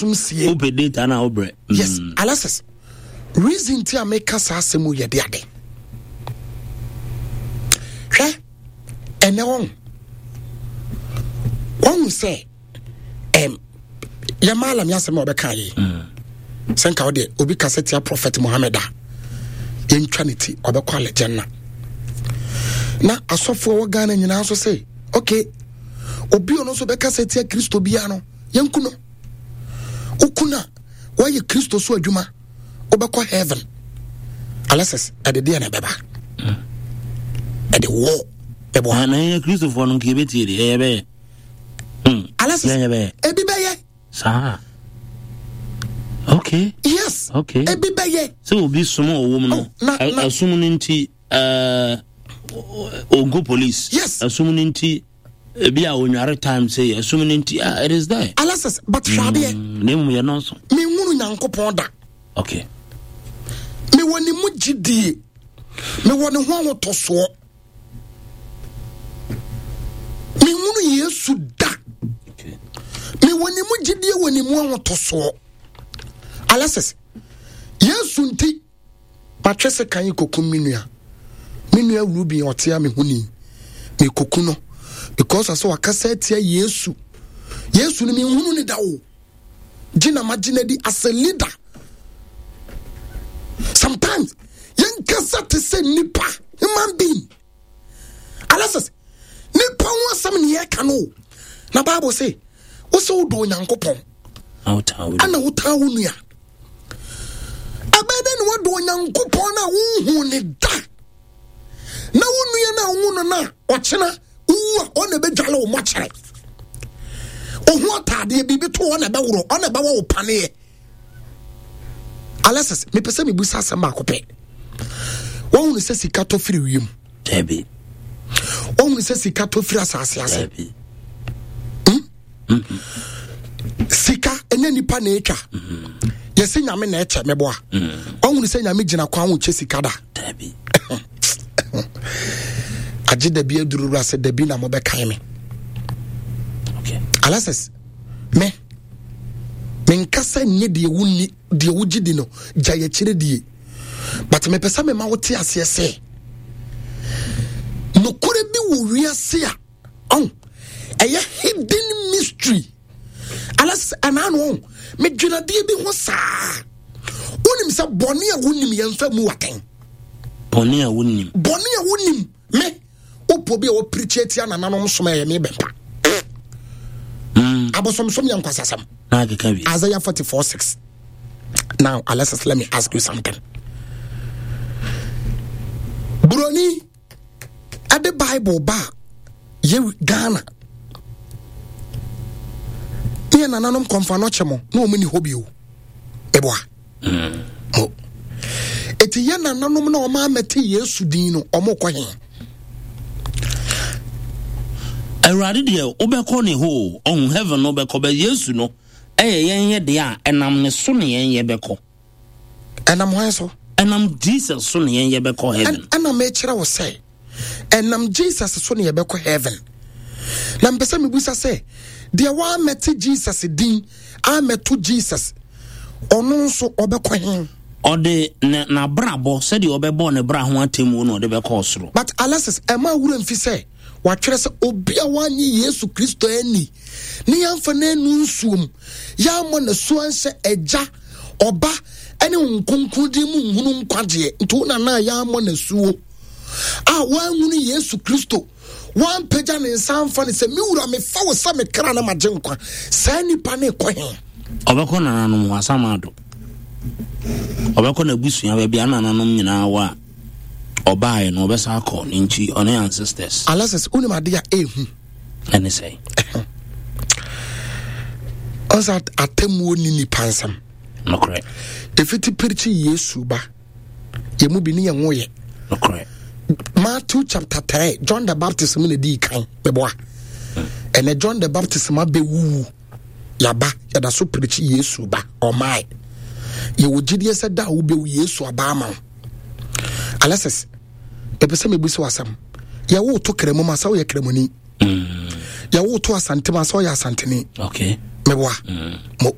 sum sie. Wopɛ data na wobrɛ. Yes, Alexis. Reason ti a meka saa asɛm yɛ de ade. Hwɛ, ɛnɛ wɔn. Wɔn sɛ ɛm yɛ maalam yɛ asɛm a ɔbɛka yi. Sɛ nka ɔdeɛ obi kasa tia Prophet Muhammad a yɛntwa ne ti ɔbɛkɔ alɛgyɛnna. Na asɔfoɔ wɔ Ghana nyinaa nso sɛ okay obi ɔno nso bɛkasa tia Kristo biara no yɛnku no. Woku no a woayɛ Kristo so adwuma wobɛkɔ heaven. Alexis ɛde deɛ na ɛbɛba ɛde wɔ ɛbɔ. Na yɛ Kristofoɔ no nka yɛbɛtie de ɛyɛ bɛyɛ. Alexis ebi bɛyɛ. Saa. Okay. Yes. Okay. Ebi bɛyɛ. Sɛ obi som a ɔwɔ mu no, ɛsom no nti ɔnkɔ police. Yes. Ɛsom no nti ebi a onware time sɛ ɛsom no nti ah it is there. Alexis but hwɛ adeɛ. Na emu yɛ nɔɔso. Menhunu Nyankopɔn da. Okay. Mewɔ ne mu gyidie. Mewɔ ne ho ahotɔsoɔ. Menhunu Yesu da. Mewɔ ne mu gyidie wɔ ne mu ahotɔsoɔ. Alexis, Yesu nti matwe sekan kokum me nua. Me nua Ruben ɔte a me ho ni. Mekoku no because asɛ wakasa atia Yesu. Yesu no menhunu ne da o. Gye na magye no adi as a leader. Sometimes yɛnkasa te sɛ nipa, human being. Alexis, nipa ho asɛm ne yɛka no. Na Bible se, wo sɛ wodɔ Onyankopɔn ɛna wotaa wo nua. Ɛbɛyɛ dɛ na woadɔ Onyankopɔn no a wonhu ne da na wo nua no a wohu no no a ɔkyena wowu a ɔna ɛbɛdwale wo mɔkyerɛ. Ohu ataadeɛ biribi to ɔna ɛbɛworɔ ɔna ɛbɛwɔ wo paneɛ. Alexis, mepɛ sɛ mebusa asɛm baako pɛ. Wohunu sɛ sika tɔ firi wiem? Dabi. Wohunu sɛ sika tɔ firi asase ase? Dabi. Hmm? Mm-hmm. Sika ɛnyɛ nipa na etwa. Mm-hmm. Yɛsɛ nyame na ɛkyɛ mɛboa. Mm-hmm. Wohunu sɛ nyame gyina kwan ho kyɛ sika da? Dabi. Agye dabi aduru wura sɛ dabi na mobɛkae me. Okay. Alexis, me menkasa nyɛ deɛ wonni deɛ wogye di no gya yɛkyerɛ die but mepɛ sɛ mema wote aseɛ sɛ nokorɛ bi wɔ wiase a ɔn ɛyɛ hidden mystery alas ɛnaa no ɔn medwenadeɛ bi ho saa wonim sɛ bɔne a wonim yɛmfa mu watɛn bɔne a wonim bɔne a wonim me wopɔ bi a wɔpirikyi atia nananom som ɛyɛ me bɛmpa abosomsom yɛ nkwasasɛm. Isaiah 44 6. Now, Alexis, let me ask you something. Broni, at the Bible ba ye Ghana. Ne nananom kɔmfa no kyɛ mo na ɔmo ni hɔ bio. Eboa. Mo. Eti yɛ nananom na ɔmo amɛte Yesu din no ɔmo kɔ he. Awurade deɛ wobɛkɔ ne hɔ o, ɔhu heaven no wobɛkɔ bɛ Yesu no ɛyɛ yɛn yɛ deɛ a ɛnam ne so ne yɛn yɛ bɛkɔ. Ɛnam hwan so? Ɛnam Jesus so ne yɛn yɛ bɛkɔ heaven. Ɛna mekyerɛ wo sɛ ɛnam Jesus so ne yɛbɛkɔ heaven. Na mpɛ sɛ mebusa sɛ deɛ woamɛte Jesus din amɛto Jesus ɔno nso ɔbɛkɔ he? Ɔde n'abrabɔ sɛdeɛ ɔbɛbɔ ne bra ho atemmuo na ɔde bɛkɔ ɔsoro. But Alexis, ɛma wura mfi sɛ watwerɛ sɛ obi a wanye Yesu Kristo anni ne yɛamfa no annu nsuom, yɛammɔ n'asu anhyɛ Agya, Ɔba, ne Honhom Kronkron din mu nhunu nkwagyeɛ. Nti wo nana a yɛammɔ n'asuo a wanhunu Yesu Kristo, wampagya ne nsa amfa no sɛ me wura mefa wo sɛ me kra na magye nkwa, saa nipa no rekɔ he? Ɔbɛkɔ nananom hɔ asamado. Ɔbɛkɔ n'abusua baabi a nananom nyinaa wɔ a ɔbaeɛ no ɔbɛsa akɔ ne nkyi ɔne ancestors. Alexis, wonim ade a ɛhu? Ɛne sɛ? Ɔsɛ atemmuo ni nipa nsɛm. Nokorɛ. Ɛfiti pirikyi Yesu ba. Yɛn mu bi ne yɛn ho yɛ. Nokorɛ. Matthew chapter 3, John the Baptist mu na ɛdii kan meboa. Ɛnɛ John the Baptist ma bɛwuwu. Yaba, yɛda so pirikyi Yesu ba, ɔmae. Yɛwɔ gyidie sɛ da a wobɛwu Yesu aba ama wo. Alexis, mepɛ sɛ mebu sɛ wasɛm. Yɛwo to kramu ma sɛ woyɛ kramoni. Yɛwo to asante ma sɛ woyɛ asantene. Okay. Meboa. Mo.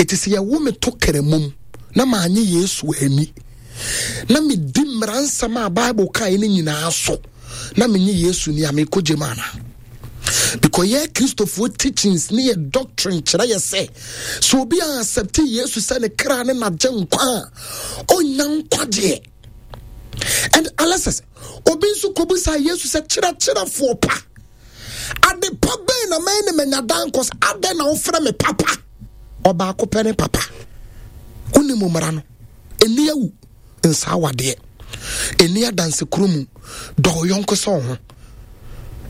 Ɛti sɛ yɛwo me to kramom na maanye Yesu ani na medi mmara nsɛm a Bible kae no nyinaa so na menye Yesu ni a mekɔ gyem ana? Because yɛ Kristofoɔ teachings ne yɛ doctrine kyerɛ yɛ sɛ sɛ obi a accept Yesu sɛ ne kra ne n'agye nkwa a ɔnya nkwagyeɛ. And Alexis, obi nso kɔbusa Yesu sɛ kyerɛkyerɛfoɔ pa ade pa bɛn na mɛyɛ ne manya daa nkɔ sɛ adɛn na wofrɛ me papa ɔbaako pɛ ne papa wonim mmara no ɛni awu nsaa wadeɛ ɛni adanse kuro mu dɔ wo yɔnko sɛ wo ho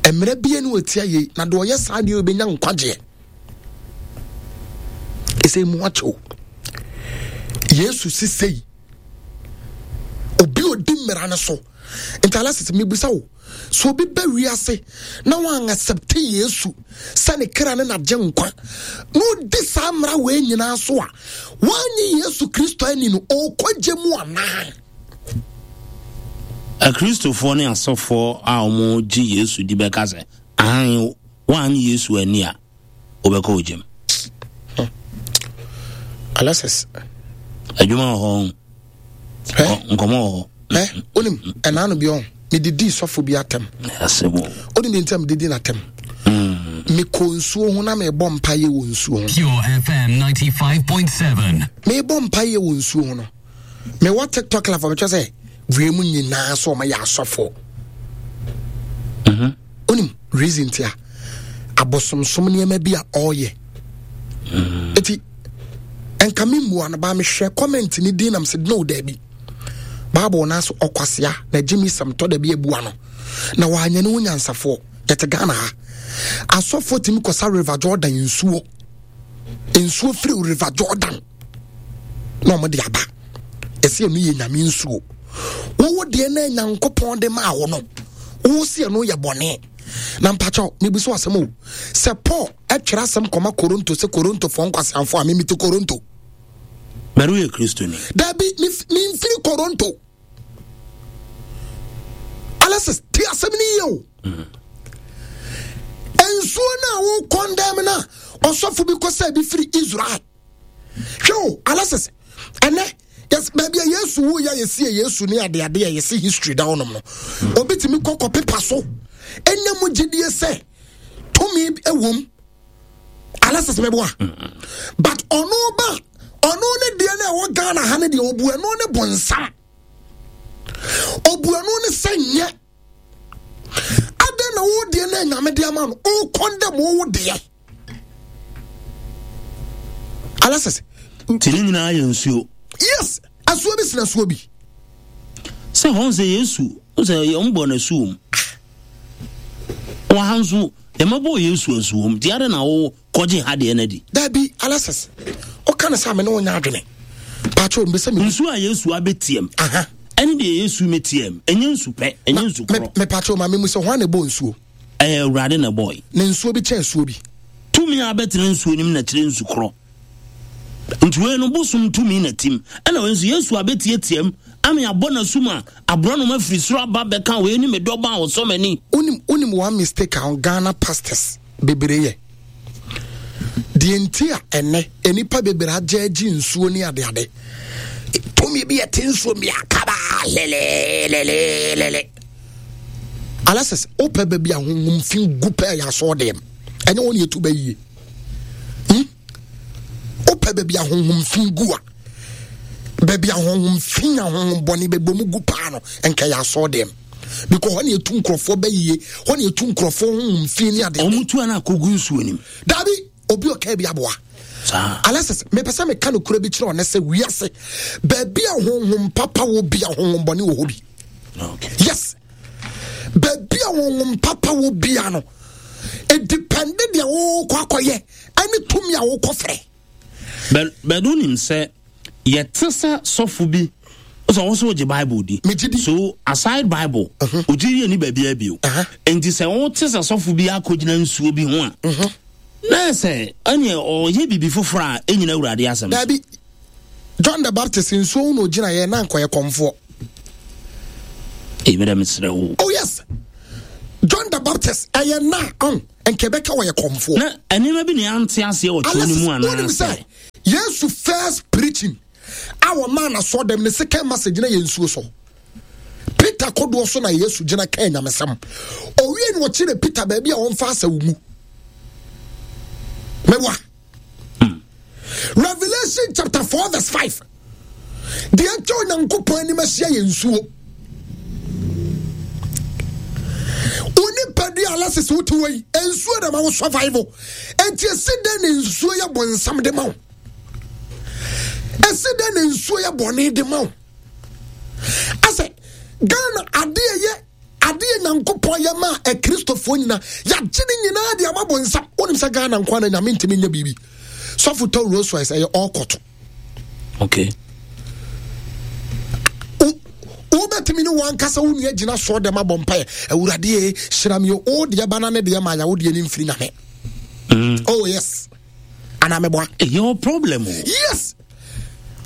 mmerɛ bia ne wɔtia yei na deɛ ɔyɛ saa deɛ ɔbɛnya nkwagyeɛ ɛsɛ mu akyɛw yesu sisei obi ɔdi mmara no so nti alɛsɛ mebisa wo So obi ba wiase na wɔn accept Yesu sɛ ne kra ne n'agye nkwa na odi saa mmara wei nyinaa so a wɔanye Yesu Kristo ani no ɔrekɔgye mu anaa? Akristofoɔ ne asɔfoɔ a wɔgye Yesu di bɛka sɛ aane, wɔanye Yesu ani a wobɛkɔ ogyam. Hmm. Alexis. Adwuma wɔ hɔ. Nkɔmɔ wɔ hɔ. Ɛ onim ɛna ano bi ɔn medidi sɔfo bi atɛm. Onim bi ntɛm didi n'atɛm. Hmm. Mekɔ nsuo ho na mebɔ mpaeɛ wɔ nsuo ho. Pure FM 95.7. Mebɔ mpaeɛ wɔ nsuo ho no. Mewɔ TikTok live ɔbɛkyɛ sɛ wiem nyinaa so ɔma yɛ asɔfo. Mhm. Onim reason tia abosomsom nneɛma bi a ɔreyɛ. Mm. Eti nka me mmua no baa mehwɛ comment ne din nam sɛ no daabi. Bible no aso ɔkwasea na gye mi sɛm tɔ da bi abua no. Na wanyɛ ne ho nyansafoɔ. Yɛte Ghana ha. Asɔfoɔ tumi kɔsa River Jordan nsuo. Nsuo firi River Jordan. Na wɔn de aba. Ɛsɛ ɛno yɛ nyame nsuo. Wowo deɛ na Nyankopɔn de maa wo no. Wo si ɛno yɛ bɔne. Na mpakyɛw, mebu so asɛm o. Sɛ Paul ɛtwerɛ asɛm kɔma Koronto sɛ Korontofoɔ nkwaseamfoɔ a memete Koronto. Bɛre woyɛ Kristoni. Dabi, memfiri Koronto. Alexis, te asɛm no yie o. Mm. Nsuo no a wo kɔndɛm no a ɔsɔfo bi kɔ sɛ bi firi Israel. Hwɛ o, Alexis, ɛnɛ yes, baabi a Yesu wu yɛ yɛsie Yesu ne adeade a yɛsi history da hɔnom no. Mm. Obi tumi kɔ kɔ pepa so ɛnya mu gyidie sɛ tumi ɛwom. Alexis mɛboa. Mm. But ɔno ba ɔno ne deɛ no ɛwɔ Ghana ha ne deɛ ɔbu ɛno ne bonsam. Ɔbu ɛno ne sɛ nyɛ. Adɛn na wo deɛ no anyame de ama no wokɔndɛm wo deɛ. Alexis. Nti ne nyinaa yɛ nsuo. Yes, asuo bi sena asuo bi. Sɛ hɔn sɛ Yesu, sɛ wɔn bɔ n'asu wɔm. Wɔ ha nso, yɛmɛbɔ Yesu asu wɔm. Nti adɛn na wo kɔgye ha deɛ no adi? Dabi, Alexis, woka no sɛ me ne wo nyɛ adwene. Paatwo, mbɛsɛ me. Nsuo a Yesu abɛtiam. Aha. Ɛne deɛ Yesu mɛtiam. Ɛnyɛ nsu pɛ, ɛnyɛ nsu korɔ. Me paatwo, ma me mu sɛ hwan na ɛbɔ nsuo? Ɛyɛ Awurade na ɛbɔe. Na nsuo bi kyɛn nsuo bi. Tumi a abɛtena nsuo no mu na kyerɛ nsu korɔ. Nti wei no bosom tumi na tim. Ɛna wei nso Yesu abɛtiatiam ama yɛabɔ n'asu ma aborɔnoma firi soro aba bɛka wei ne me dɔba a ɔsɔ m'ani. Wonim wonim one mistake a Ghana pastors bebree yɛ. Deɛ nti a ɛnɛ nnipa bebree agye agye nsuo ne adeade. Tumi bi ɛte nsuo bi akaba lelelelele. Alexis, wopɛ baabi a honhom fi gu pɛ yɛ asɔɔdɛm. Ɛnyɛ wɔn yɛtu bɛ yie. Hmm? Wopɛ baabi a honhom fi gu a, baabi a honhom fi a honhom bɔne bɛbɔ mu gu paa no, nka yɛ asɔɔdɛm. Because hɔ na yɛtu nkurɔfoɔ bɛ yie, hɔ na yɛtu nkurɔfoɔ honhom fi ne adeɛ. Wɔn tu ana akɔgu nsuo nim. Dabi, obi ɔka bi aboa. Alexis, mepɛ sɛ meka nokorɛ bi kyerɛ ɔnɛ sɛ wiase baabi a honhom papa wɔ bi a honhom bɔne wɔ hɔ bi. Okay. Yes. Baabi a honhom papa wɔ bia no, ɛdipɛnde deɛ wokɔ akɔyɛ ɛne tumi a wokɔ frɛ. Bɛdo nim sɛ yɛte sɛ sɔfo bi sɛ ɔwɔ sɛ wogye Bible di. Megye di. So aside Bible, ogye di ani baabi abio. Nti sɛ wote sɛ sɔfo bi akɔgyina nsuo bi ho a, na sɛ ɛneɛ ɔyɛ biribi foforɔ a ɛnyina Awurade asɛm so. Dabi. John the Baptist nsuo ho na ogyina yɛ na nkɔyɛ kɔmfoɔ. Ebi dɛ mesrɛ wo. Oh yes. John the Baptist ɛyɛ na ɔn nka ɛbɛka wɔyɛ kɔmfoɔ. Na nneɛma bi na yɛante aseɛ wɔ twerɛ no mu anaasɛ. Wonim sɛ Yesu first preaching a wɔmaa n'asɔɔ dɛm ne second message na yɛ nsuo so. Peter kodoɔ so na Yesu gyina kaa nyamesɛm. Owie na ɔkyerɛ Peter baabi a wɔmfa asau mu. Mɛwa. Revelation chapter 4 verse 5. Deɛ atwa Onyankopɔn anim ahyia yɛ nsuo. Onipadua Alexis wote wɔ yi, nsuo na ma wo survival. Enti esi dɛn na nsuo yɛ bɔnsam de ma wo? Esi dɛn na nsuo yɛ bɔne de ma wo? Asɛ Ghana adeɛ yɛ adeɛ Nyankopɔn yɛ ma akristofoɔ nyina yɛagye ne nyinaa de ama bɔnsam. Wonim sɛ Ghana nkoa na Nyame ntumi nyɛ biribi. Sɔfo tɔ Rolls Royce ɛyɛ ɔkɔto. Okay. Wobɛtumi ne wankasa wo nua gyina soɔ dɛm abɔ mpaeɛ awurade e hyira me o deɛ ba na ne deɛ ma yɛ wo deɛ ne mfiri nyame. Oh yes. Anaa meboa. Your problem o. Yes.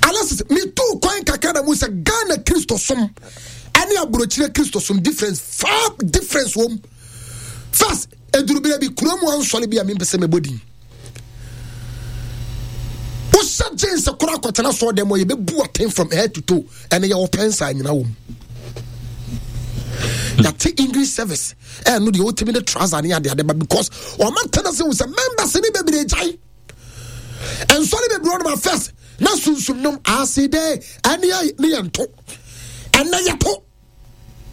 Alexis, metuu kwan kakra na mu sɛ Ghana Kristosom ɛne aburokyire Kristosom difference far difference wɔm. First, eduru bere bi kurom ansɔre bi a mempɛ sɛ mebɔ din. Wohyɛ jeans koro akɔtena soɔ dɛm ɔ yɛbɛbu aten from head to toe ɛne yɛwɔ pɛnsa nyina wɔ mu. Yɛate English service ɛno deɛ wotumi de trouser ne adeade ba because ɔma tena sɛ wo sɛ members ne bebree gyae. Nsɔre bebree ɔnom a first na sunsum nom ase dɛ ɛne ne yɛ nto ɛnɛ yɛto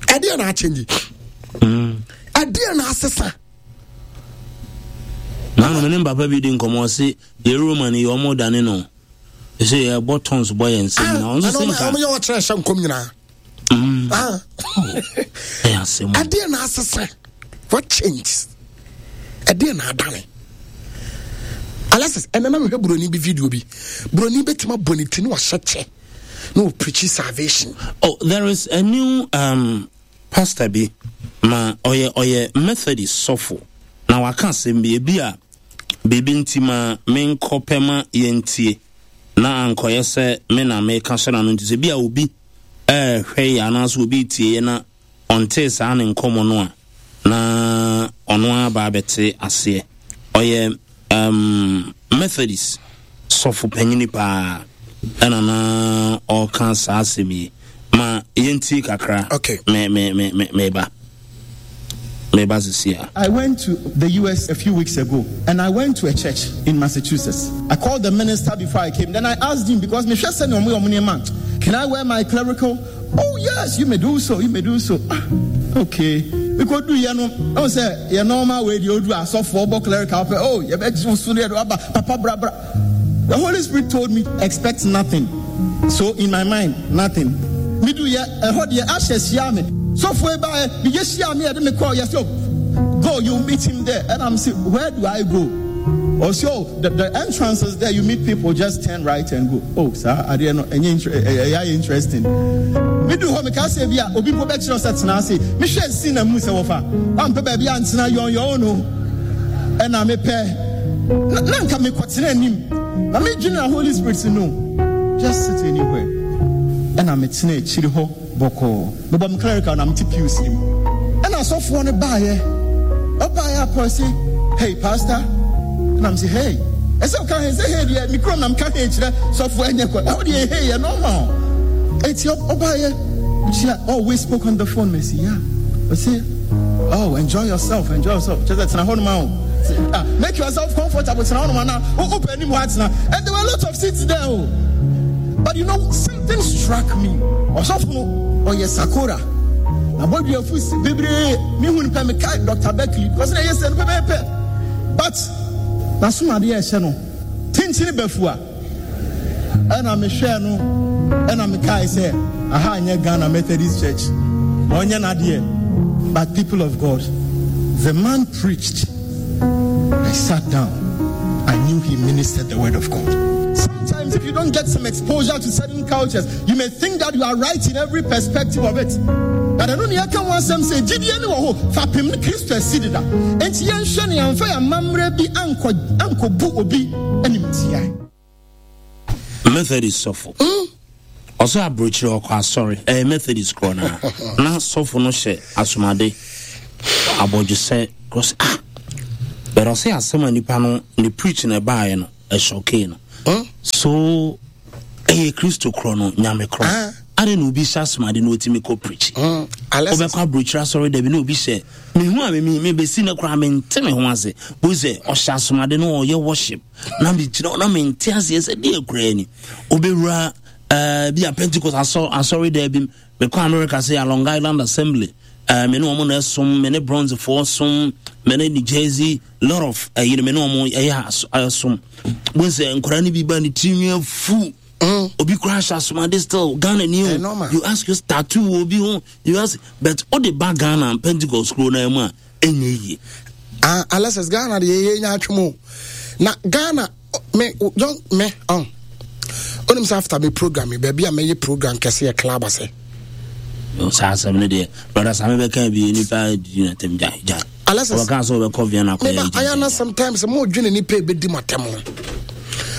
ɛdeɛ na akyɛngye ɛdeɛ na asesa. Nanom ne papa bi di nkɔmmɔ ɔse yɛ Roman yɛ ɔmo dane no ɛsɛ yɛbɔ tons bɔ yɛn nsɛm nyinaa ɔno sɛ nka ɔmo yɛ ɔkyerɛ hyɛ nkɔm nyinaa. Ɛyɛ asɛm. Ɛdeɛ na asesa what changes ɛdeɛ na adane. Alexis ɛnɛ na mehwɛ buroni bi video bi buroni bɛtumi abɔ ne ti ne wahyɛ kyɛ na ɔpreachi salvation. Oh, there is a new um, pastor bi ma ɔyɛ ɔyɛ Methodist sɔfo na waka asɛm bi ebi a biribi nti ma menkɔ pɛ ma yɛntie na ankɔyɛ sɛ me na meka hyɛ n'ano nti sɛ bi a obi ɛrehwɛ yɛ anaasɛ obi retie yɛ na ɔntee saa ne nkɔmmɔ no a na ɔno ara ba abɛte aseɛ. Ɔyɛ um, Methodist sɔfo panyini paa ɛna na ɔreka saa asɛm yi. Ma yɛntie kakra. Okay. Me me me me meba. Meba sisi a. I went to the US a few weeks ago and I went to a church in Massachusetts. I called the minister before I came. Then I asked him because me can I wear my clerical? Oh yes, you may do so. You may do so. Ah, okay. Because do you know? I say your normal way you do asɔfo ɔbɔ clerical pɛ. Oh, you bet you so papa bra bra. The Holy Spirit told me expect nothing. So in my mind, nothing. Me do yɛ ɛhɔ deɛ ahyɛ hyia me. Sɔfo eba ɛ me yɛ hyia me ɛde me kɔ yɛ so go you meet him there and I'm say where do I go? Ɔsɛ oh the, the entrance is there you meet people just turn right and go. Oh saa adeɛ no ɛnyɛ ɛyɛ ayɛ interesting. Me du hɔ me ka sɛ bi a obi mpo bɛkyerɛ sɛ tena ase. Me hwɛ si na mu sɛ wɔfa. Wampɛ baabi antena yɔn yɔn no. Ɛna mepɛ na na nka mekɔtena anim na medwene na Holy Spirit sɛ no just sit anywhere ɛna metena akyiri hɔ bɔkɔɔ mebɔ me clerical na mete pews no mu ɛna asɔfoɔ no baeɛ ɔbaeɛ akɔ se hey pastor ɛna mese hey ɛsɛ woka hey sɛ hey deɛ me kurom na meka hey kyerɛ sɔfoɔ ɛnyɛ kɔ ɛhɔ deɛ hey yɛ normal ɛti ɔbaeɛ kyia oh we spoke on the phone mesi yeah ɔse oh enjoy yourself enjoy yourself kyerɛ sɛ tena hɔ nom a o Ah, make yourself comfortable. Tena hɔ nom anaa wopɛ anim hɔ atena. And there were a lot of seats there o. But you know, something struck me. Ɔsɔfo no, ɔyɛ sakora. Na bɔdua fu si bebree. Mehu no pɛ mekae Dr. Beckley because na ɛyɛ sɛ no pɛpɛɛpɛ. But n'asomadeɛ a ɛhyɛ no, tentene bafua. Ɛna mehwɛɛ no ɛna mekae sɛ aha nyɛ Ghana Methodist Church ma ɔnyɛ n'adeɛ. But people of God, the man preached. I sat down. I knew he ministered the word of God. Sometimes if you don't get some exposure to certain cultures, you may think that you are right in every perspective of it. But ɛno ne yɛka ho asɛm sɛ gyidie ne wɔ hɔ fapem ne Kristo asi deda. Enti yɛnhwɛ ne yɛmfa yɛn amammerɛ bi ankɔbu obi animtia. Methodist sɔfo. Ɔsɛ aburokyire ɔkɔ asɔre ɛyɛ Methodist korɔ naa na sɔfo no hyɛ asomade abɔdwesɛ kɔsɛ ah but ɔsɛ asɛm a nipa no ne preach na ɛbaayɛ no ɛhyɔkee no. So ɛyɛ Kristo korɔ no, Nyame korɔ. Ah. Adɛn na obi hyɛ asomade na ɔtumi kɔ preach? Alexis. Wobɛkɔ aburokyire asɔre da bi na obi hyɛ mehu a me mebɛsi no koraa mente me ho ase. Bohu sɛ ɔhyɛ asomade na ɔyɛ worship na megyina hɔ na mente aseɛ sɛ deɛ koraa ni. Wobɛwura uh, bi a Pentecost asɔre da bi mekɔ America sɛ Long Island Assembly uh, me ne wɔn na ɛsom me ne Bronzefoɔ som me ne New Jersey lot of ɛyi no me ne wɔn ɛyɛ ɛsom. Bohu sɛ nkwadaa no bi ba ne tirinwi afu. Obi koraa hyɛ asomade still Ghana ni o. You ask your tattoo wɔ obi ho. You ask but o de ba Ghana Pentecost kuro na mu a ɛnyɛ yie. Ah, Alexis Ghana de yɛ nya atwom o. Na Ghana me young me on. Onim sɛ after me program me baabi a mɛyɛ program kɛse yɛ club ase. Saa asɛm no deɛ brother Sami bɛka bi nipa di na tɛm gya gya. Alexis ɔbɛka sɛ ɔbɛkɔ Vienna kɔyɛ meba ayɛ na sometimes mo dwene nipa ebedi mo atɛm ho.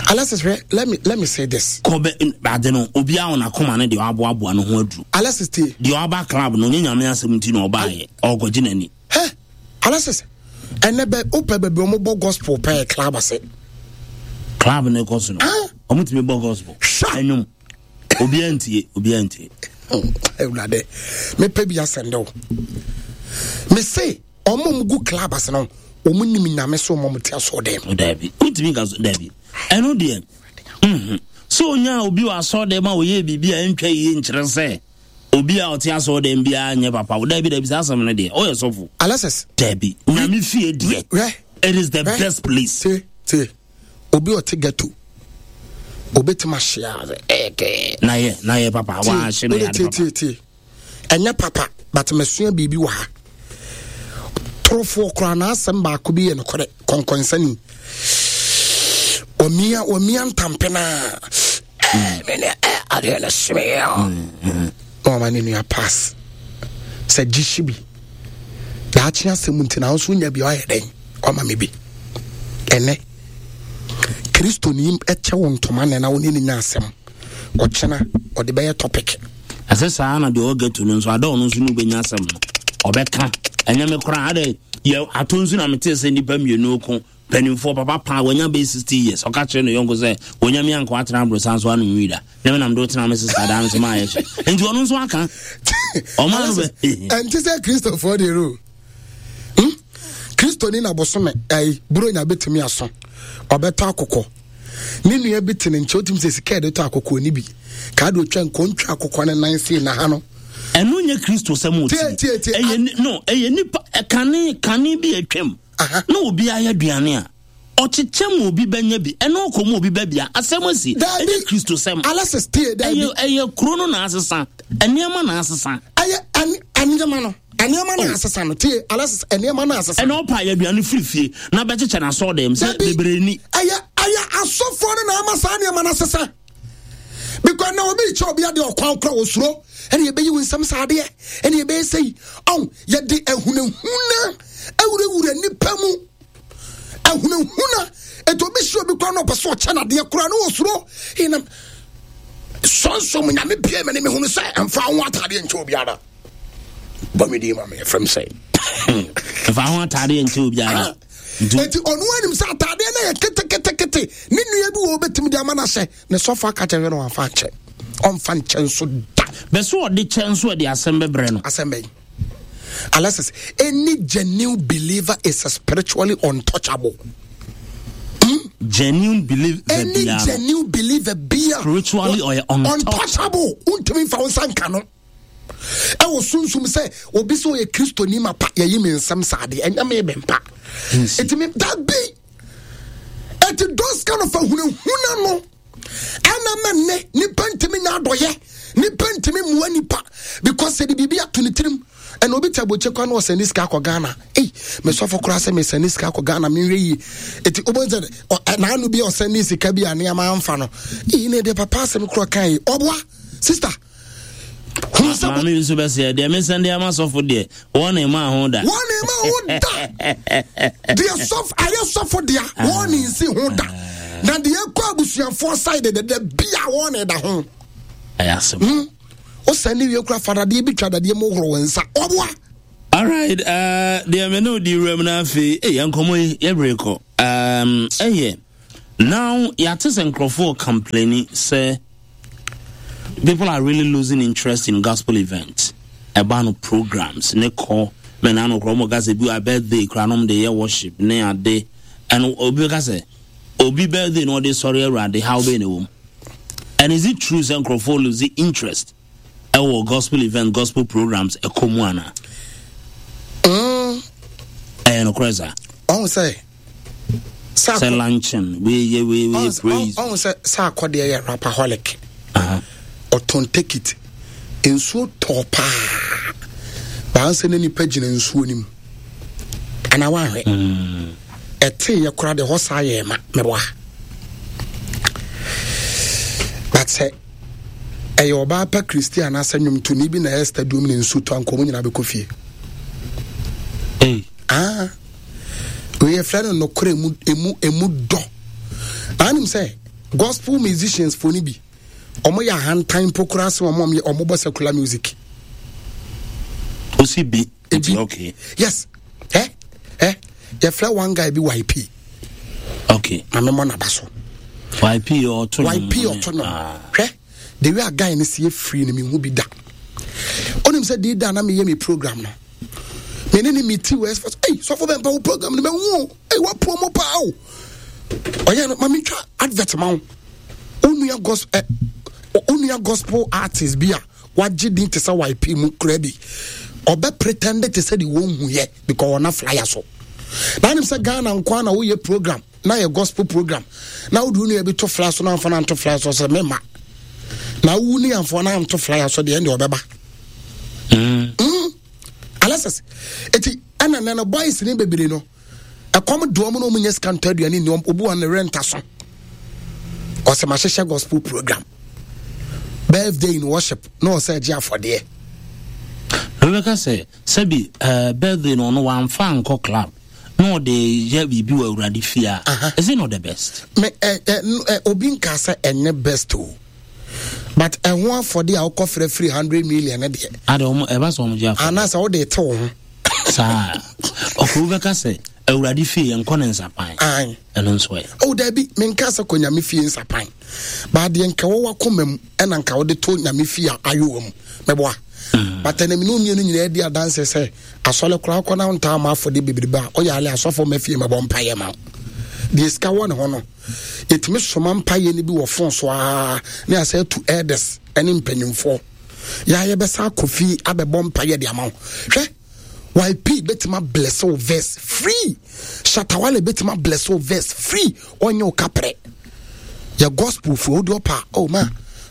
Alexis hwɛ let me let me say this. Kɔbɛ ade no obi a ɔna akoma no deɛ ɔaboaboa no ho aduru. Alexis tie. Deɛ ɔaba club no nye nyame asɛm nti na ɔbaayɛ ɔkɔgye n'ani. Hɛ Alexis ɛnɛ bɛ wopɛ baabi ɔmo bɔ gospel pɛɛ club ase. Club no kɔ so no ɔmo tumi bɔ gospel. Hwɛ. Ɛnwom. Obiara ntie, obiara ntie. Awurade, mepɛ bi asɛnde wo. Mese ɔmo ɔmo gu club ase no, ɔmo nim nyame so ɔmo te asɔ dɛm. Dabi, wontumi nka so dabi. Ɛno deɛ, mhm. Sɛ onya obi wɔ asɔ dɛm a ɔyɛ biribi a ɛntwa yie nkyerɛ sɛ obi a ɔte asɔ dɛm biara nyɛ papa. Dabi, dabi, saa asɛm no deɛ, ɔyɛ sɔfo. Alexis. Dabi, nyame fie deɛ. It is the best place. Tie, tie. Obi ɔte ghetto obetumi ahye a ɛɛkɛɛ. Na yɛ na yɛ papa wahye no yɛ ade papa. Tie tie ɛnyɛ papa but mesua biribi wɔ ha. Torofoɔ koraa n'asɛm baako bi yɛ nokorɛ kɔnkɔnsani. Wɔmia wɔmia ntampe naa ɛɛ me ne ɛɛ adeɛ no hyeme yɛ ɔ. Na wɔma ne nua pass sɛ gye hye bi. Daakye asɛm nti na nso nya bi ɔayɛ dɛn ɔma me bi. Ɛnɛ Kristoni kyɛ wo ntoma nɛ na wo ne ne nya asɛm ɔkyena ɔde bɛyɛ topic. Ɛsɛ saa na deɛ ɔwɔ ghetto no nso ada ɔno nso ne wobɛnya asɛm no ɔbɛka ɛnyɛ me koraa adɛ yɛ ato nso na metee sɛ nnipa mmienu ko mpanimfoɔ papa paa wanya bɛyɛ 60 years ɔka kyerɛ ne yɔnko sɛ wɔnya me anka watena aborosan so anom wi da na menam de wotena me sesa daa no so maayɛ hyɛ nti ɔno nso aka ɔma no bɛ ɛnte sɛ kristofoɔ deɛ o Hmm? Kristoni na bosome ɛyi buronya betumi aso ɔbɛtɔ akokɔ ne nua bi te ne nkyɛn otumi sɛ sika yɛde tɔ akokɔ ni bi kaa de otwa nkɔ ntwa akokɔ ne nan sei na ha no. ɛno nyɛ kristo sɛm o ti ɛyɛ no ɛyɛ nipa kane kane bi atwam na obi ayɛ aduane a ɔkyekyɛ mu obi bɛnya bi ɛna ɔkɔ mu obi bɛbia asɛm asi ɛnyɛ kristo sɛm Alexis tie daabi ɛyɛ ɛyɛ kuro no na asesa nneɛma na asesa ɛyɛ nneɛma no nneɛma no asesa no tie Alexis nneɛma no asesa ɛna ɔpa ayɛ aduane firi fie na bɛkyekyɛ na asɔ dɛm sɛ bebree ni ɛyɛ ɛyɛ asɔfoɔ no na ama saa nneɛma no asesa because na obi kyɛ obi adeɛ ɔkwan kora osuro ɛna yɛbɛyi wo nsɛm saa adeɛ ɛna yɛbɛyɛ sɛyi ɔn yɛde ahunahuna awurawura nipa mu ahunahuna ɛti obi si obi kora na ɔpɛ sɛ ɔkyɛ nadeɛ kora na ɔsuro ɛnam sɔnsɔm nyame bie me ne mehunu sɛ ɛmfa ho atadeɛ nkyɛ obiara bɔ me din ma me ɛfrɛm sɛ ɛmfa ho atadeɛ nkyɛ obiara ɛti ɔno anim sɛ atadeɛ no yɛ ketekete ne nua bi wɔ wobɛtumi de ama no ahyɛ ne sɔfo aka kyerɛ no wamfa nkyɛ ɔmfa nkyɛ nso da bɛso ɔde kyɛ nso ɛde asɛm bɛbrɛ no asɛm bɛyi Alexis, any genuine believer is spiritually untouchable. Hmm? Genuine believer. Any genuine believer be spiritually or untouchable. Untumi nfa wo nsa nka no. Ɛwɔ sunsum sɛ obi sɛ ɔyɛ kristoni ma pa yɛyi me nsɛm saa deɛ ɛnyɛ me bɛmpa. Ɛtumi da bi ɛti those kind of ahunahuna no. Ɛna ma nnɛ nipa ntumi nya adɔyɛ nipa ntumi mua nipa because sɛ de biribi ato ne tirim ɛna obi te abɔkyɛ kwan na ɔsɛn ne sika akɔ Ghana ei mesɔfo koraa sɛ mesɛn ne sika akɔ Ghana menhwɛ yie eti wobɛn sɛ n'ano bi a ɔsɛn ne sika bi a nneɛma amfa no ei ne deɛ papa asɛm koraa kan yi ɔboa sister maame nso bɛsɛ deɛ mesɛn deɛ ama sɔfo deɛ wɔn na ɛma ho da wɔn na ɛma ho da deɛ sɔfo ayɛ sɔfo deɛ wɔn na nsi ho da na deɛ ɛkɔ abusuafoɔ side dɛdɛ bia wɔn na ɛda ho ɛyɛ asɛm hmm? wosɛn ne wie kura fadadeɛ bi twa dadeɛ mu horo wɔn nsa ɔboa alright uh, deɛ me ne wodi wuram no afei ɛyɛ nkɔmmɔ yi yɛbere kɔ ɛyɛ um, Now yɛate sɛ nkurɔfoɔ complaini sɛ people are really losing interest in gospel events. Ɛba no programs ne kɔ mɛ na ano korɔ ɔmo ka sɛ bi wa birthday koraa nom de yɛ worship ne ade ɛno obi bɛka sɛ obi birthday na ɔde sɔre awurade how bɛyɛ na ɛwɔ mu. And is it true sɛ nkurɔfoɔ lose interest ɛwɔ gospel event gospel programs ɛkɔ mu ana? Ɛyɛ nokorɛ saa. Ɔn sɛ sɛ luncheon wei yɛ wei wei praise. Ɔn sɛ sɛ akɔdeɛ yɛ rapaholic. Ɔtɔn tekit nsuo tɔɔ paa baansa ne nipa gyina nsuo no mu ana wahwɛ ɛte yɛ kora de hɔ saa yɛ ma mɛboa but sɛ ɛyɛ ɔbaa pa kristi anaasɛ nnwomtoni bi na ɛyɛ stadium ne nsu tɔ anka ɔmo nyinaa bɛkɔ fie. Hey. Ah. Wei yɛfrɛ no nokorɛ emu emu emu dɔ. Na anim sɛ gospel musicians fo no bi ɔmo yɛ ahantan mpo koraa sɛ ɔmo ɔmo bɔ secular music. Osi bi. Ebi. Okay. Yes. Eh eh yɛfrɛ one guy bi YP. Okay. Maame mɔ n'aba so. YP ɔto no. YP ɔto no. Ah. Hwɛ the way a guy no si efiri no mi hu bi da. Onim sɛ di da na mi yɛ mi program no. Me ne ne mi ti wɔ ɛsɛ ɛy sɔfo bɛ mpa wo program no mɛ hu o ɛy wa promo paa o. Ɔyɛ no maame twa advert ma wo. Onua gospel ɛ onua gospel artist bi a wagye din te sɛ YP mu kura bi. Ɔbɛ pretend te sɛ de wɔn hu yɛ because ɔna flyer so. Na anim sɛ Ghana nkoa na woyɛ program na yɛ gospel program na wode wo nua bi to flyer so na amfa no anto flyer so sɛ mema na wowu ne amfa no anto flyer so deɛ ɛnde ɔbɛba. Mm. Mm. Alexis, eti ɛna nɛ no boys ne bebree no ɛkɔm de wɔn na wɔn nyɛ sika ntɔ aduane ni wɔn obi wɔn ne rent aso ɔsɛ ma hyehyɛ gospel program birthday in worship na ɔsɛ ɛgye afɔdeɛ. Rebecca sɛ sɛbi uh, birthday no ɔno wamfa ankɔ club na ɔde yɛ biribi wɔ awurade fie a is it not the best? Me ɛ ɛ ɛ obi nka sɛ ɛnyɛ best o. But ɛho afɔde a wokɔ frɛ firi 100 million no deɛ. Ade wɔn ɛba sɛ wɔn gye afɔde. Anaasɛ wode te wo ho. Saa ɔkò bɛka sɛ awurade fie yɛn kɔ ne nsapan. Ayi. Ɛno nso ɛ. Oh dabi menka sɛ kɔ nyame fie nsapan. Baadeɛ nka wɔ wakoma mu ɛna nka wode to nyame fie a ayowa mu. Mɛboa. Mm. But ɛnam ne mmienu nyinaa di adanse sɛ asɔre koraa kɔ na ntaa ma afɔde bebrebe a ɔyɛ ale asɔfo ma fie mɛbɔ mpaeɛ ma wo. Deɛ sika wɔ ne ho no yɛtumi soma mpaeɛ no bi wɔ fon so aa ne asɛ atu elders ne mpanyimfoɔ yɛa yɛbɛsa akɔ fie abɛbɔ mpaeɛ de ama wo. Hwɛ YP bɛtumi abless wo verse free. Shatawale bɛtumi abless wo verse free. Ɔnyɛ wo kaprɛ. Yɛ gospel fo wode ɔpa oh ma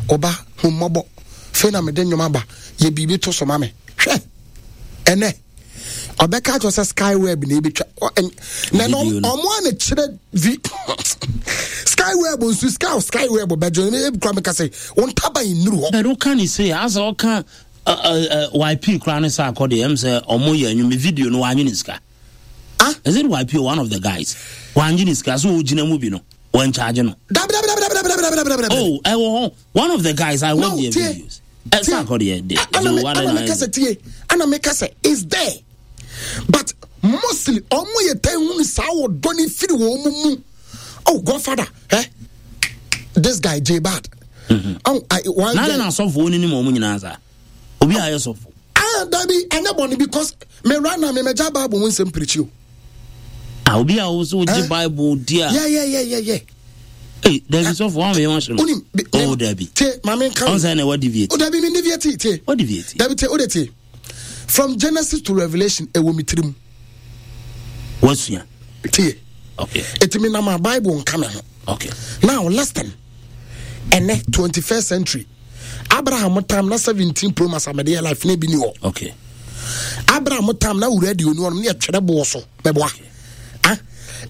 ɔba hu mmɔbɔ. Fei na mede nnwom aba yɛ biribi to so ma me. Hwɛ ɛnɛ ɔbɛka akyerɛ sɛ skyweb na ebetwa na na ɔmo a na kyerɛ vi skyweb nso sky skyweb bɛgye no ebi kura mi ka sɛ wɔn ntaban nnuru hɔ. Bɛn ɔka ne se asɛ ɔka YP kura ne sa akɔ deɛ ɛm sɛ ɔmo yɛ ɛnwom video no wɔanyi ne sika. Ah? Is it YP or one of the guys? Wɔanyi ne sika so ɔgyina mu bi no wɔn charge no. Dabi dabi dabi dabi dabi dabi dabi dabi. Oh ɛwɔ hɔ one of the guys I watch no, their tie, videos. Ɛsɛ akɔ deɛ de. Ana mi kasa tie ana mi kasa is there but mostly ɔmo yɛ tɛn hu saa wɔ dɔ ne firi wɔn mu mu oh Godfather eh this guy J Bad. Mm-hmm. Oh, I, one na na asɔfo oni ni mu ɔmo nyinaa saa obi a yɛ sɔfo. Ah dabi ɛnyɛ bɔnne because me ra na me mɛgya Bible ho nsɛm pirikyi o. Ah obi a ɔwɔ gye Bible di a. Yeah yeah yeah yeah yeah. Hey, dabi sɔfo wɔn mi wɔn hyɛ no. Onim. Oh dabi. Tie maame nka. Ɔn sɛ na ɛwɔ deviate. O dabi mi deviate tie. O deviate. Dabi tie o de tie. From Genesis to Revelation ɛwɔ mi tirim. Wasua. Tie. Okay. Eti mi nam a Bible nka mi ho. Okay. Now listen. Ɛnɛ 21st century. Abraham tam na 17 pro max amede yɛ life na ebi ni hɔ. Okay. Abraham tam na wura di onu ɔnom ne ɛtwerɛ boɔ so mɛboa. Okay. Ah,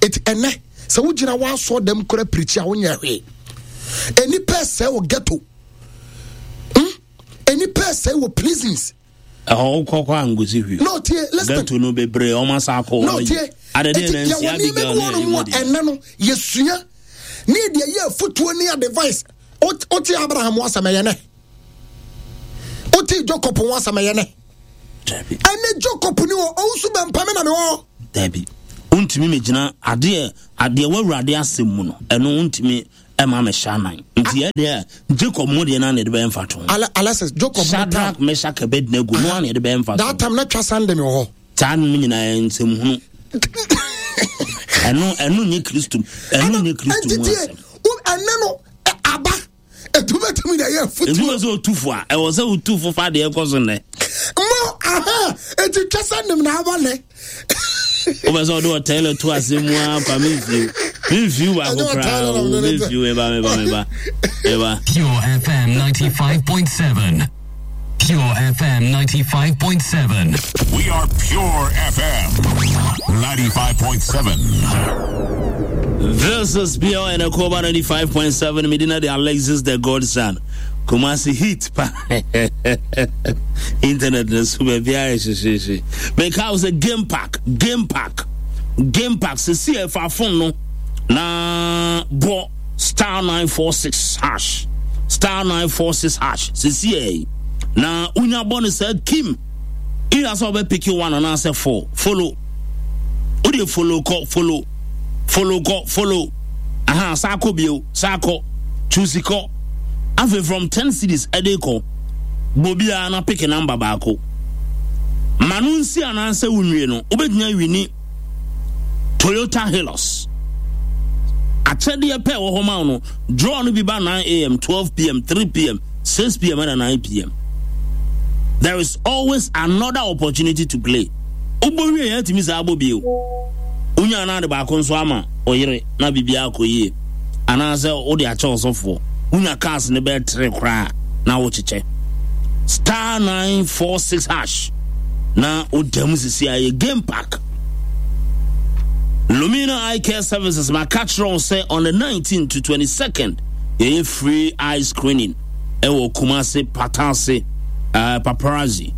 eti ɛnɛ sɛ wogyina w'asɔ dɛm kora pirikyi a wonyɛ hwee. Enipa ɛsɛ wɔ ghetto. Hmm? Enipa ɛsɛ wɔ prisons. Ɛhɔ wokɔ kɔ angosi hwee. No tie listen. Ghetto no bebree ɔmo asa akɔ. No tie. Adede Eti na nsi yɛwɔ nneɛma Abigail bi ne wɔ ɛyi nom a mu deɛ. ɛnɛ no yɛsua ne yɛde ɛyɛ afotuo ne advice. Wote Abraham ho asɛm ɛyɛ nɛ. Wote Jacob ho asɛm ɛyɛ nɛ. Dabi. Ɛnɛ Jacob ni hɔ ɔnso bɛmpa me na mewɔ hɔ. Dabi. Wontumi megyina adeɛ adeɛ w'awurade asɛm mu no ɛno wontumi ɛma mehyɛ anan nti yɛ deɛ Jacob mo deɛ na na yɛde bɛyɛ mfa to. Alexis Jacob mo Shadrach Meshach Abednego no na yɛde bɛyɛ mfa to. That time na twa sande mi wɔ hɔ. Saa no nyinaa nsɛm hunu. Ɛno ɛno nye Kristo ɛno nye Kristo mu asɛm. Ɛnɛ no aba etu bɛtumi de ɛyɛ afutuo. Ebi wɔ sɛ otu fo a ɛwɔ sɛ otu fo fa deɛ ɛkɔ so nnɛ. Mo aha eti twa sɛ nim na aba nnɛ. Wobɛ sɛ ɔde ɔtɛlɛ to ase mu a kwa memfiw memfiw baako koraa o memfiw meba meba meba meba. Pure FM 95.7. Pure FM 95.7. We are Pure FM 95.7. This is Pure and Akoba 95.7. Medina the Alexis the Godson. Kumasi heat pa. Internet na so baabi ayɛ hyehyehye. Meka wo sɛ game park, game park, game park. Sisi ɛfa phone no na bɔ star 946 hash star 946 hash sisi ɛ na wonya bɔ no saa kim either sɛ wobɛpeke one anaasɛ four follow wode follow kɔ follow follow kɔ follow aha saa kɔ bio saa kɔ choose kɔ afei from 10 cities ɛde kɔ bɔ biara na peke number baako ma no nsi anaasɛ wonwie no wobɛtumi awini Toyota Hilux. Akyɛdeɛ pɛ wɔ hɔ ma wo no, draw no bi ba 9 am, 12 pm, 3 pm, 6 pm ɛna 9 pm. There is always another opportunity to play. Wobɔ wie yɛn atumi saa abɔ bio. Wonya anaa de baako nso ama ɔyere na biribiara akɔ yie. Anaasɛ wode akyɛ ɔsɔfoɔ. Wonya cars no bɛyɛ tere koraa na wokyekyɛ. Star 946 hash na woda mu sisi ayɛ game park. Lumina Eye Care Services maka kyerɛ wo sɛ on the 19th to 22nd yɛyɛ free eye screening ɛwɔ Kumasi Patase uh, Paparazzi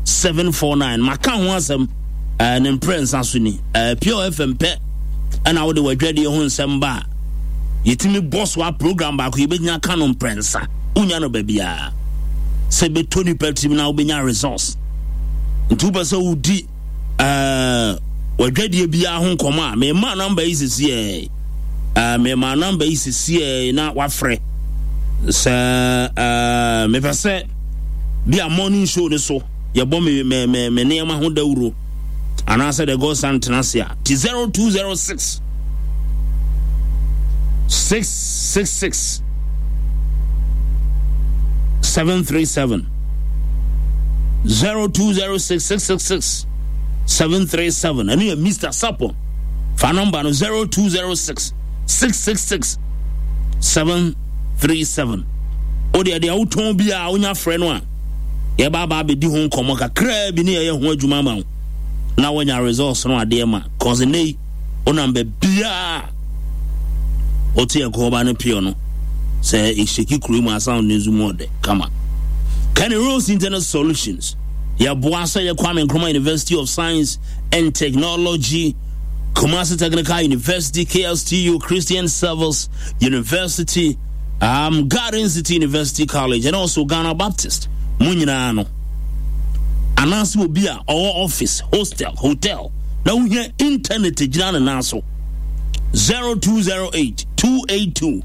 0559174749 maka ho asɛm uh, ne mprɛ nsa so ni uh, Pure FM pɛ ɛna wode wadwadie ho nsɛm ba a yɛtumi bɔ so a program baako yɛbɛnya ka no mprɛnsa wonya no baabiaa sɛ bɛtɔ nipa tirim na wobɛnya resource nti wopɛ sɛ wodi eh, wadwadie biara ho nkɔmmɔ a mema namba yi sesiɛ eh, mema namba yi sesiɛ na wafrɛ sɛ eh, mepɛ sɛ bi a morning show no so yɛbɔ me, me, me, me nneɛma ho dawuro anaasɛ the god son tena ase a ti 0206 666 737 0206 666 737 ɛno yɛ Mr. Sapon fa nɔmba no 0206 666 737 wodeɛ deɛ wotɔn biaa wonya frɛ no a yɛba aba abɛdi ho nkɔmmɔ kakraa bi ne yɛyɛ ho adwuma ama wo na woanya results no adeɛ ma cause nnɛ yi wonam baabiaa wote ɛkɔɔba no pure no sɛ ɛhyɛki kuro mu asound no nso mu ɔdɛ kama. Kenny Rose Internet Solutions yɛboa sɛ yɛ Kwame Nkrumah University of Science and Technology, Kumasi Technical University, KSTU, Christian Service University, um, Garden City University College, and also Ghana Baptist. Mo nyinaa no anaasɛ obi a ɔwɔ office, hostel, hotel na wohia internet gyina ne nan so 0208 282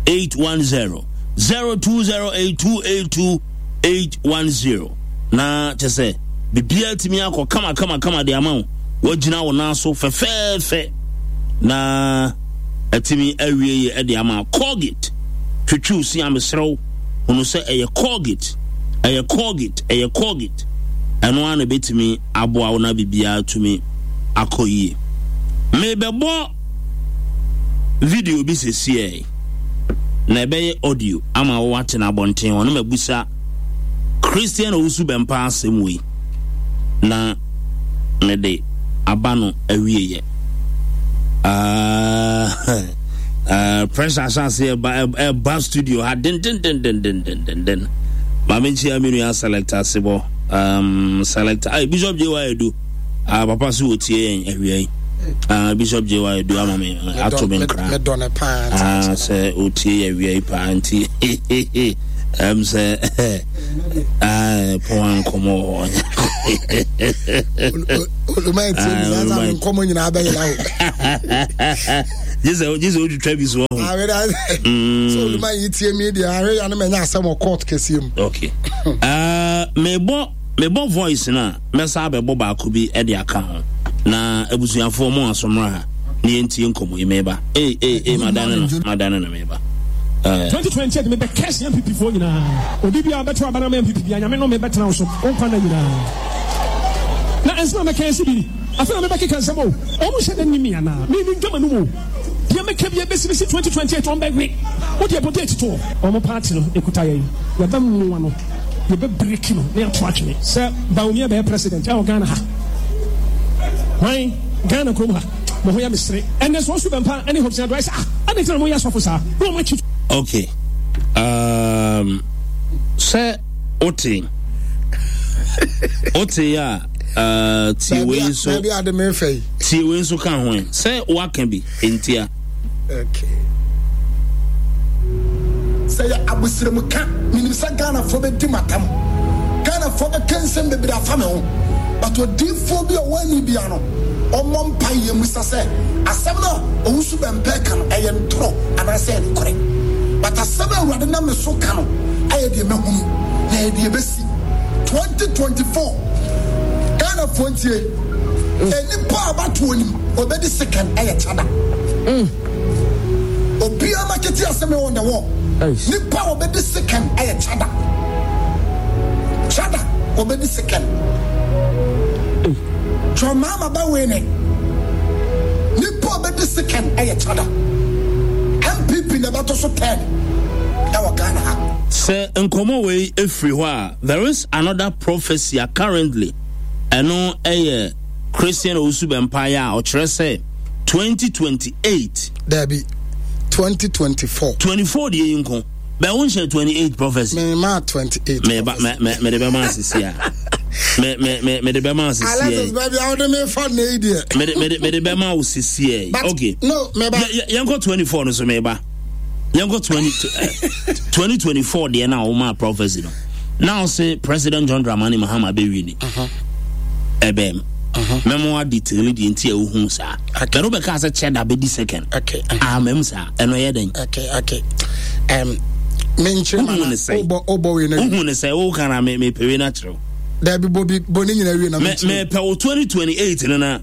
810 0208 282 810 na kyɛ sɛ biribiara tumi akɔ kama kama kama de ama wo woagyina wo nan so fɛfɛɛfɛ na atumi awie yɛ de ama Colgate twitwiw si amesrɛ wo hunu sɛ ɛyɛ Colgate ɛyɛ Colgate ɛyɛ Colgate ɛno ara na ɛbɛtumi aboa wo na biribiara tumi akɔ yie mebɛbɔ video bi sesiɛ na ɛbɛyɛ audio ama wo ate no abɔnten hɔ na mabusa Christian Owusu Bɛmpa asɛm wei na mede aba no awieɛ. Uh, uh, pressure ahyɛ ase ɛba ɛba studio ha dendendendendendenden. Maame nkyia me nua selector sebɔ um, selector ay Bishop J.Y. Edu. Ah, papa so wɔtie yɛn awia yi. Ah, Bishop J.Y. Edu ama me ato me nkra. Ah, sɛ ɔtie yɛ awia yi paa nti. Ɛm sɛ pɔn ankɔmɔ wɔ hɔ. Oluma etie mi saa saa mi nkɔmɔ nyinaa bɛ yɛlɛ o. Gye sɛ gye sɛ otwitwa bi so ɔho. Awɛ dɛ sɛ oluma yi tie mi deɛ ahwɛ ya no mɛ nya asɛm wɔ court kɛseɛ mu. Okay. Mebɔ mebɔ voice na mɛsa abɛbɔ baako bi de aka ho na abusuafoɔ mo asomra ha na yɛntie nkɔmmɔ yi meba. Ee ee ee madane no madane no meba. 2028 mebɛ curse NPP foɔ nyinaa. Obi biara bɛto aba no ama NPP bia Nyame nnome bɛtena wo so wo nkwa nna nyinaa. Na nsɛm a mɛka asi bi ni. Afei na mebɛkeka nsɛm o. Wɔn nhyɛ da nni me anaa? Me mendwa m'anum o. Deɛ mɛka biara bɛsi bɛsi 2028 wɔn bɛwe. Wo deɛ bɔ date to hɔ. Wɔn party no ɛkuta yɛn. Yɛbɛmoa no. Yɛbɛ break no na yɛato atwene. Sɛ Bawumia bɛyɛ president ɛwɔ Ghana ha. Hwan? Ghana kurom ha. Mo ho yɛ me sere. Ɛnɛ sɛ ɔsu bɛmpa ne Hobson Addo ayɛ sɛ ah adɛn nti na moyɛ asɔfo saa na wɔn akyi. Okay. Um, sɛ wote wote a uh, tie wei nso tie wei nso ka ho sɛ woaka bi ntia. Okay. Sɛ yɛ abosiremka, menim sɛ Ghanafoɔ bɛdi m'atam. Ghanafoɔ bɛka nsɛm bebree afa me ho. But odiyifoɔ bi a ɔwɔ ani bia no, ɔmmɔ mpaeɛ mmisa sɛ asɛm no a Owusu Bɛmpɛ ka no, ɛyɛ ntorɔ anaasɛ ɛyɛ nokorɛ. But asɛm a Awurade nam me so ka no, ɛyɛ deɛ mahunu, na ɛyɛ deɛ ɛbɛsi. 2024, Ghanafoɔ ntie, nnipa a abatoɔ nim, ɔbɛdi second ɛyɛ Chada. Obiara makete asɛm on the wall. Nipa a ɔbɛdi second ɛyɛ Chada. Chada ɔbɛdi second. John Mahama bɛ win. Nipa a ɔbɛdi second ɛyɛ Chada. NPP na ɛbɛto so third ɛwɔ Ghana ha. Sɛ nkɔmɔ wei efiri hɔ a, there is another prophecy a currently ɛno ɛyɛ Christian Owusu Bɛmpaeɛ a ɔkyerɛ sɛ 2028. Dabi, 2024. 24 deɛ yi nko. Bɛ wo nhyɛ 28 prophecy. Me ma 28. Me ba me me me de bɛ ma asisi a. Me me me me de bɛ ma asisi a. Alexis baby awo de me fa ne yi deɛ. Me de me de me de bɛ ma wo sisi a. Okay. No, me ba. Yɛn kɔ 24 no so me ba. Yɛn kɔ 20 2024 deɛ na wo ma prophecy no. Now say President John Dramani Mahama bɛ win. Ɛbɛm. Mɛmo adetail deɛ nti a wohu saa. Bɛrɛ wobɛka sɛ kyɛ da bɛdi second. Okay. Amam saa. Ɛno yɛ dɛn? Okay, okay. Um, menkyerɛ ma na wobɔ wobɔ wei na. Wohu ne sɛ woka na me mepɛ wei na kyerɛw. Dabi bɔ bi bɔ ne nyina wie na menkyerɛ. Mepɛ wo 2028 no na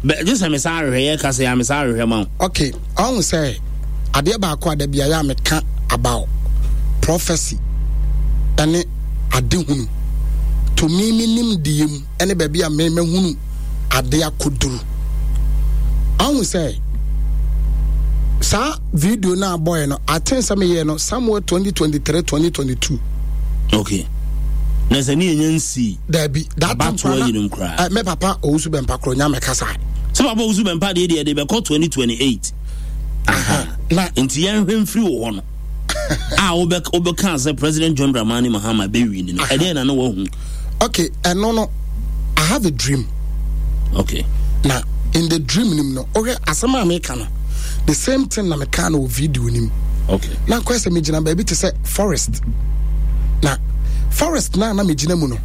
bɛ gye sɛ me saa ahwehwɛ yɛ ka sɛ ya me saa ahwehwɛ ma wo. Okay, ɔhu sɛ adeɛ baako a dabi ayɛ a meka about prophecy ɛne adehunu to me menim deɛ mu ɛne baabi a me mahunu ade akɔduru. Ahu sɛ saa video no a bɔɛ no, I think sɛ meyɛɛ no somewhere 2023 2022. Okay. Na sɛ ne yɛnya nsii. Dabi, that time koraa yinom koraa. Eh, me papa Owusu Bɛmpa korɔ nya mɛka saa. Sɛ papa Owusu Bɛmpa deɛ deɛ de bɛkɔ 2028. Aha. Na nti yɛnhwɛ mfiri wɔ hɔ no. A wobɛka sɛ President John Dramani Mahama bɛwi no, ɛdeɛ na na wahu. Okay, ɛno no, I have a dream. Okay. Na in the dream nim no, wohwɛ asɛm a meka no, the same thing na meka no wɔ video nim. Okay. Na nkɔyɛ sɛ megyina baabi te sɛ forest. Na forest na na megyina mu no,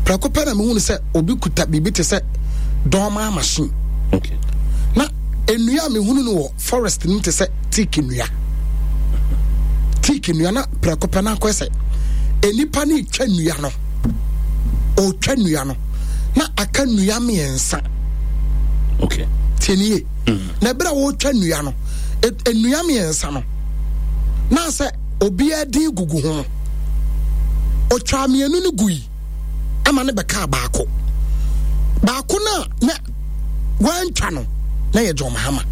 prɛko pɛ na mehunu sɛ obi kuta biribi te sɛ dɔɔmaa machine. Okay. Na nnua a mehunu no wɔ forest no te sɛ teak nnua teak nnua na prɛko pɛ na akɔyɛ sɛ nnipa no retwa nnua no ɔretwa nnua no na aka nnua mmiɛnsa okay tie nie mm. na ɛberɛ a wɔretwa nnua no nnua mmiɛnsa no na sɛ obiara din gugu ho ɔtwaa mmienu no gui ama no bɛkaa baako baako no a na wantwa no na yɛ John Mahama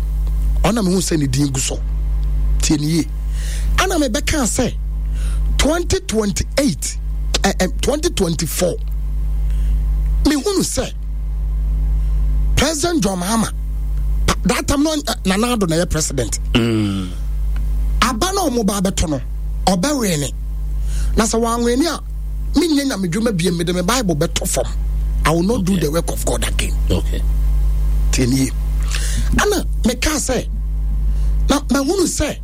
ɔna mehu sɛ ne din gu so tie ne yie ana mebɛkaa sɛ 2028 eh, eh, 2024 mehunu sɛ President John Mahama that time no eh, Nana Addo na yɛ president mm. aba na ɔmo ba abɛto no ɔbɛwene na sɛ wanwene a menyɛ nyamedwuma biem mede me bible bɛtɔ fam i will not okay. do the work of god again okay. tiɛnie ana mekaa sɛ na mahunu sɛ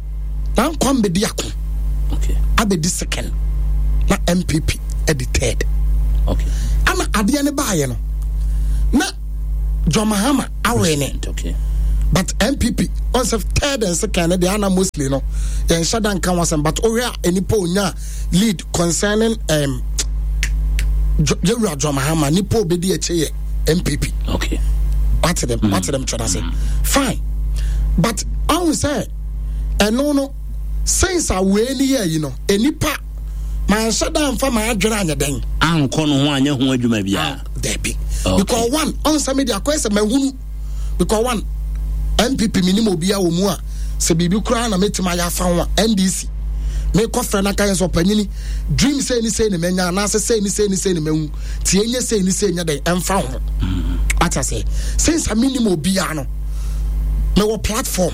na nkwa mbɛdi ako. Okay. Abɛdi second na NPP adi third. Okay. Ana adeɛ no baayɛ no na John Mahama awene. Okay. But NPP on sɛ third and second no deɛ ana mostly no yɛnhyɛ da nka ho asɛm but wohwɛ a nnipa onya lead concerning um, yɛwura John Mahama nipa obedi akyi yɛ NPP. Okay. Wate dem wate dem twɛda se fine but ɔhu sɛ ɛno no since a wei ni yɛ yi no nipa manhyɛ da nfa maa adwene anyɛ dɛn. Ankɔ no ho anyɛ ho adwuma biara. Ah, dabi. Okay. Because one ɔnsɛ mi de akɔyɛ sɛ mahunu because one NPP mi nim obi a wɔ mu a sɛ biribi koraa na mɛtumi ayɛ afa ho a NDC mekɔ frɛ no aka yɛ sɛ ɔpanyini dream sei ne sei ne manya anaasɛ sei ne sei ne sei ne mahu nti ɛnyɛ sei ne sei nyɛ dɛn ɛmfa ho ate aseɛ since a menim obiara no mewɔ platform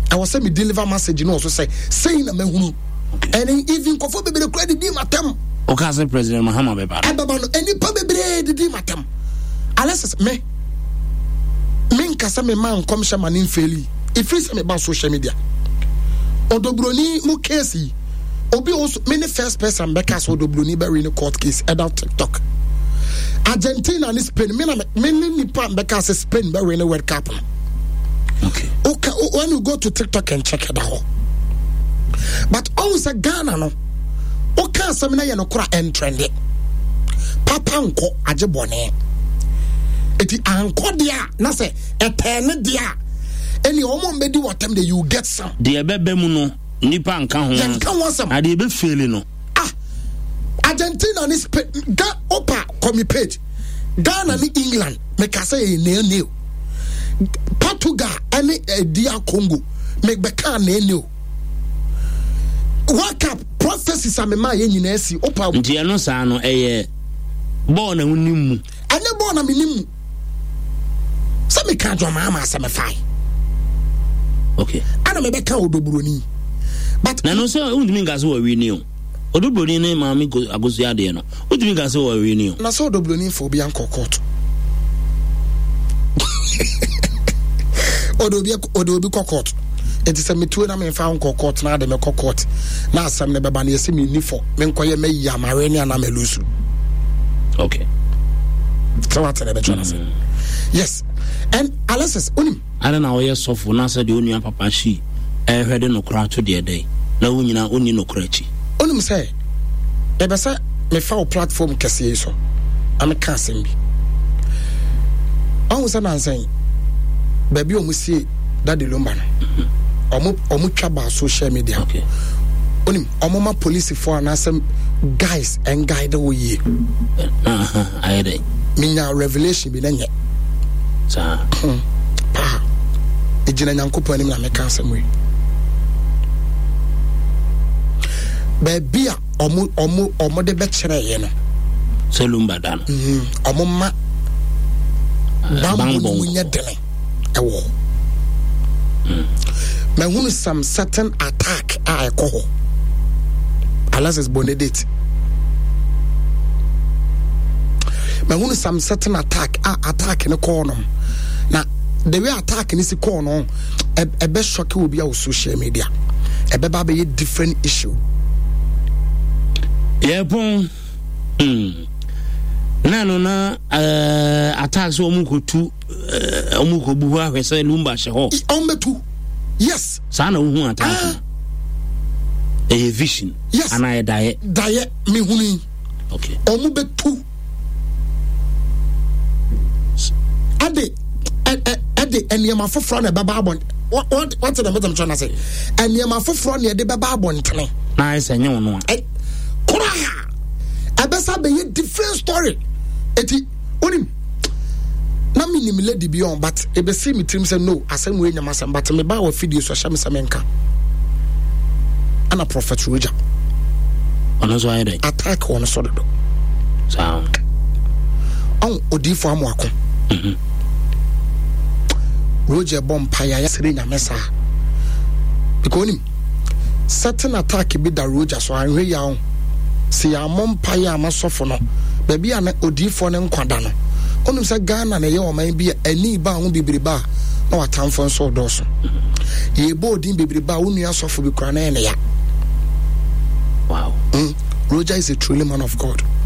ɛwɔ sɛ me deliver message no wɔ so sɛ sei na mahunu ɛne even nkɔfoɔ bebree koraa didi matam woka sɛ President Mahama bɛba no ɛbɛba no nnipa bebree didi matam Alexis me menka sɛ mema nkɔmhyɛ ma ne mfeeli ɛfiri sɛ meba social media ɔdɔburoni mu case yi obi also me ne first person bɛka sɛ ɔdɔburoni bɛwe ne court case ɛda tiktok Argentina ne Spain me na me ne nipa bɛka sɛ Spain bɛwe ne World Cup no okay. Okay, when you go to TikTok and check ɛda hɔ but ɔhu sɛ Ghana no woka asɛm no yɛ no kora ɛntrɛnde papa nkɔ agye bɔne ɛti ankɔ deɛ a na sɛ ɛtɛɛ ne deɛ a ɛne ɔmo mbɛdi wɔtɛm de you get some deɛ ɛbɛbɛ mu no nipa nka ho yɛnka ho asɛm na deɛ ɛbɛfeeli no ah Argentina ne Spain ga opa kɔmi page Ghana ne England meka sɛ yɛ nail nail Portugal ɛne eh, DR Congo mebɛka nail nail World Cup prophecies a mema yɛ nyinaa si opa. Nti ɛno saa no ɛyɛ bɔɔl na wonim mu. Ɛnyɛ bɔɔl na menim mu. Sɛ meka adwamaa ma asɛ mefae. Okay. Ɛna mebɛka odoburoni. But na no sɛ wontumi nka sɛ wɔwe ni o. Odoburoni ne maame akosua adeɛ no wotumi nka sɛ wɔwe ni o. Na sɛ odoburoni mfa obi ankɔ court. Ɔde obi ɔde obi kɔ court. Nti sɛ metuo na memfa nkɔ court na ade mekɔ court na asɛm no bɛba no yɛsɛ menni fɔ menkɔyɛ mayi amawe ne anaa malusu. Okay. Sɛ wate na ɛbɛtwa no ase. Mm. Yes. And Alexis, wonim. Adɛn na woyɛ sɔfo na sɛ deɛ onua papa hyi ɛrehwɛ de nokorɛ ato deɛ dɛn na wo nyina wonni nokorɛ akyi? Wonim sɛ mepɛ sɛ mefa wo platform kɛseɛ yi so na meka asɛm bi. Ɔhu sɛ nansa yi baabi a wɔn sie Daddy Lumba no, wɔn wɔn twa baa social media. Okay. Wonim wɔn ma polisifoɔ anaasɛ guys ɛnguide wo yie. Ayɛ dɛ. Menya revelation bi na nyɛ. Saa. Hmm. Paa. Egyina Nyankopɔn anim na meka asɛm wei. Baabi a ɔmo ɔmo ɔmo de bɛkyerɛ yɛ no. Sɛ lumba da no. Mm, ɔmo ma bambɔ no mu nyɛ dene ɛwɔ hɔ. Mm. Mahunu some certain attack a ɛkɔ hɔ. Alexis Bonedate. Mahunu some certain attack a attack no kɔɔ no. Na the way attack no si kɔɔ no ɛbɛ shock obi a wɔ social media. Ɛbɛba abɛyɛ different issue. Yɛpɔn mm. na no na uh, attack sɛ wɔn kɔtu wɔn kɔbu hɔ ahwɛ sɛ lumba hyɛ hɔ. Wɔn bɛtu yes. Saa na wohu attack no. Ah. Ɛyɛ vision. Yes. Anaa yɛ daeɛ. Daeɛ mehunu yi. Okay. Wɔn bɛtu. Ɛde ɛde nneɛma foforɔ na ɛbɛba abɔn wɔte na mɛtɛm kyerɛ no ase nneɛma foforɔ na ɛde bɛba abɔntene. Na ayɛ sɛ nyɛ wɔn a. Koraa ɛbɛsa bɛyɛ different story eti onim na menim lady bi ɔn but ebesi me tirim sɛ no asɛm wei nyɛ m'asɛm but mebaa wɔ fidie so ɛhyɛ me sɛ menka ɛna prophet Roger ɔno nso ayɛ dɛ attack wɔn so dodo saa ɔn odiifo amoako mhm. Roger bɔ mpaeɛ ayɛ sere nyame saa because onim certain attack bi da Roger so anhwɛ yi ahɔ sɛ yɛammɔ mpaeɛ ama sɔfo no baabi a na odiifoɔ no nkwa da no onim sɛ Ghana na ɛyɛ ɔman bi a ani ba ho bebrebe a na watamfo nso ɔdɔɔso yɛbɔ odin bebrebe a wo nua sɔfo bi koraa na ɛyɛ ne ya. Roger is a truly man of God.